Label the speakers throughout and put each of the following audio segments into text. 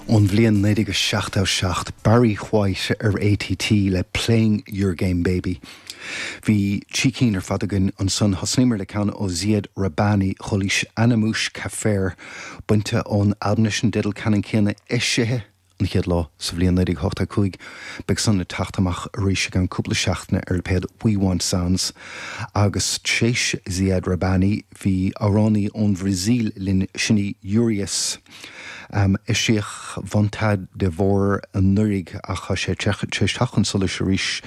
Speaker 1: Ón bhliain 1977, Barry White ar ATT le Playing Your Game Baby. Bhí trí cinn ar fad againn ansan. Thosnaíomar le ceann ó Ziad Rahbani, Chualaís Anamoush Kafer, bainte ón albam leis an dteideal ceannann céanna, eisithe an chéad lá sa bhliain 1985. Beidh san ag teacht amach arís i gceann cúpla seachtaine ar lipéad We Want Sounds. Agus tréis Ziad Rahbani, bhí amhránaí ón Bhrasaíl linn, sin í Urias. Eisíodh Vontade de Voir anuraidh ach tá sé tar éis teacht chun solais arís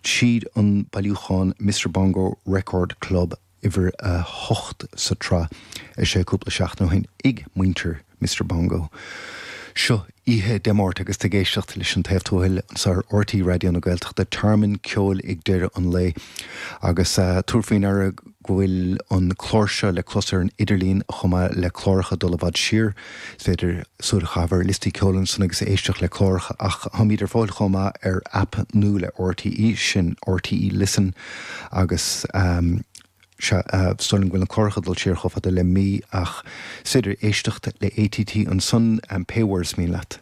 Speaker 1: tríd an bailiúchán Mister Bongo Record Club, uimhir 8 sa tsraith, eisithe cúpla seachtain ó shin ag muintir Mister Bongo. Seo oíche Dé Máirt agus tú ag éisteacht leis An Taobh Tuathail anseo ar RTÉ Raidió na Gaeltachta, tearmann ceoil ag deireadh an lae. Agus tabhair faoi ndeara go bhfuil an clár seo le clos ar an idirlíon chomh maith le cláracha dul i bhfad siar. Is féidir súil a chaitheamh ar liostaí ceoil ansan agus éisteacht le cláracha ach táimid ar fáil chomh maith ar aip nua le RTÉ, sin RTÉ Listen agus sea, is dóigh liom go bhfuil na cláracha ag dul siar chomh fada le mí ach is féidir éisteacht le ATT ansan pé uair is mian leat.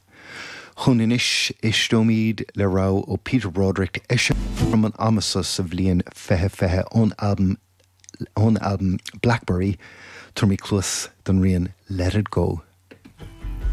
Speaker 1: Chugainn anois, éisteoimid le rogha ó Peter Broderick, eisithe cothrom an ama seo sa bhliain 2020 ón albam ón albam Blackberry, tabharfaimid cluas don rian Let It Go.